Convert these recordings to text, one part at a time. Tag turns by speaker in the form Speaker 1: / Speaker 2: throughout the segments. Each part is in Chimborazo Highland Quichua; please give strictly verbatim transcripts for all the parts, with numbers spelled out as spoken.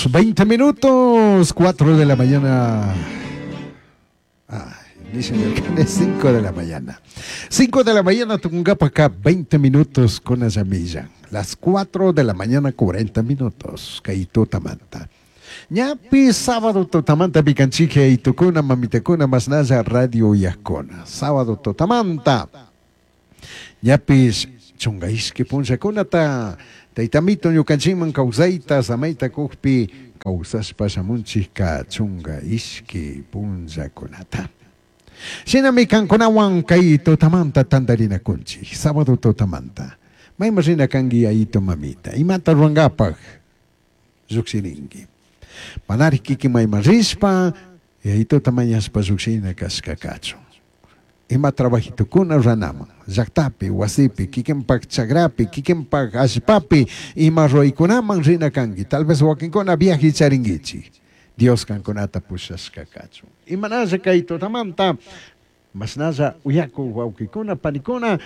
Speaker 1: veinte minutos, cuatro de la mañana. Ay, dicen el cinco de la mañana. cinco de la mañana, Tungapa acá, veinte minutos con la llamilla. Las cuatro de la mañana, cuarenta minutos. Kaitutamanta. Ñapi sábado totamanta picanchique y tucuna mamitecuna masnaya radio yacona. Sábado totamanta. Ñapis chungaishki punllakunata taytamito ñukanchikman kawsayta samayta kuqpi kawsashpa shamunchikka chunga ishki punllakunata. Shinami kankunawan kay tutamanta tantarinakunchik sábado tutamanta. Mayman rina kanki yayito mamita. Imata ruwanqapaq lluqshirinki. Manari kikin mayman rishpa yayituta mañashpa lluqshina kashka kachun. Ima trabajitukuna ranaman, llaqtapi, wasipi, kikinpaq chakrapi, kikinpaq allpapi, ima ruwaykunaman rina kanki. Tal vez wakinkuna viaje charinkichik. Dios kankunata pushashka kachun. Imanalla kay tutamanta, masnalla uyaku wawqikuna, panikuna,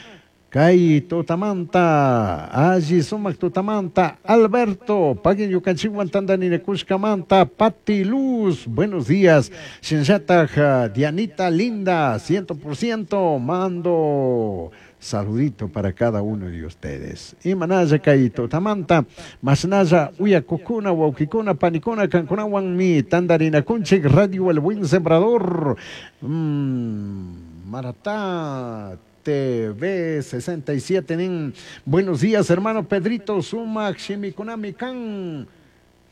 Speaker 1: kay tutamanta, alli sumaq tutamanta, Alberto, paguen ñukanchikwan tantaninakushkamanta, Pati Luz, buenos días, Shinllataj, Dianita Linda, ciento por ciento, mando saludito para cada uno de ustedes. Imanalla kay tutamanta, masnalla uyakukuna, wawqikuna, panikuna, kankunawan mi tantarinakunchik, Radio El Buen Sembrador, mmm, Maratá T V sesenta y siete nin. Buenos días, hermano Pedrito Sumac, Shimikunami Kan,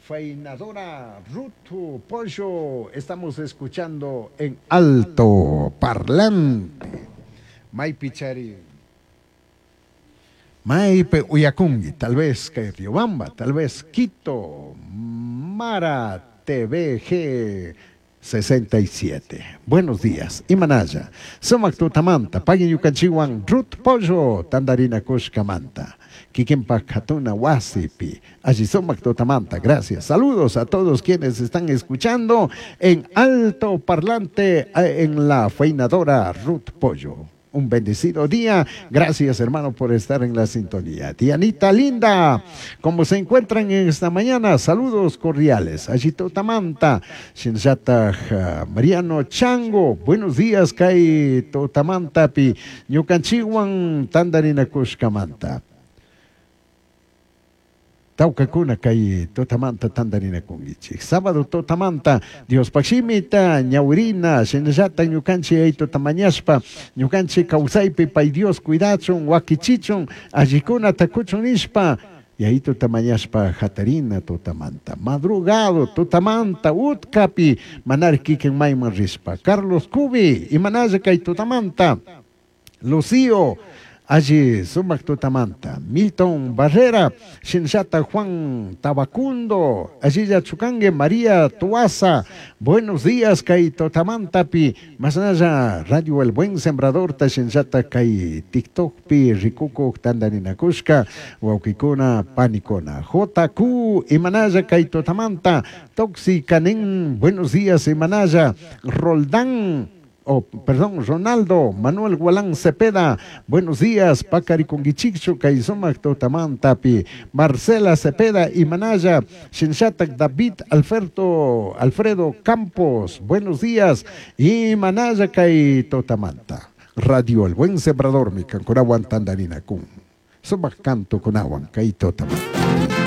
Speaker 1: Fainadora Rutu Pollo. Estamos escuchando en alto parlante. Maipichari. Maipe Uyakungi, tal vez que Riobamba, tal vez Quito, Mara T V G sesenta y siete. Buenos días. Imanaya. Sumak tutamanta. Pagin yukanchiwan Ruth Pollo. Tandarina Kushkamanta. Kikinpa Katuna Wasipi. Allí sumak tutamanta. Gracias. Saludos a todos quienes están escuchando en alto parlante en la feinadora Ruth Pollo. Un bendecido día. Gracias, hermano, por estar en la sintonía. Dianita linda, ¿cómo se encuentran en esta mañana? Saludos cordiales. Allí Totamanta, Shinzata Mariano Chango. Buenos días, Kai Totamanta, pi Ñukanchiwan Tandarina Kushkamanta. Taucacuna kay totamanta tandarina kungichik. Sábado totamanta, Dios pakshimita, ñawirina, shinallata ñukanchi ay totamañashpa, ñukanchi kawsaypi pay Dios cuidachun, wakichichun, allikuna takuchun nishpa, y ahí totamañashpa jatarina totamanta. Madrugado totamanta, utkapi, manar kikin mayman rishpa. Carlos Cubi, imanalla kay totamanta. Lucio, allí sumak tutamanta, Milton Barrera, Shinshata Juan Tabacundo, allí ya Chucangue, María Tuaza, buenos días, Kai Totamantapi, más allá, Radio El Buen Sembrador, ta Shinshata Kai TikTok pi, Rikuko, Tandarinakushka, Waukikuna, Panicona, J Q, Imanaya, Kai Totamanta, Toxi Canen, buenos días, Imanaya, Roldán, oh, perdón, Ronaldo, Manuel Gualán Cepeda, buenos días, Pacari Conguichichu, Kaizomac Totamantapi, Marcela Cepeda y Manaya, Shinshatac David Alberto, Alfredo Campos, buenos días, y Manaya Kai Totamanta, Radio El Buen Sembrador, mi canconahuan Tandarina Kun, Sumac Canto Conahuan, Kai Totamanta.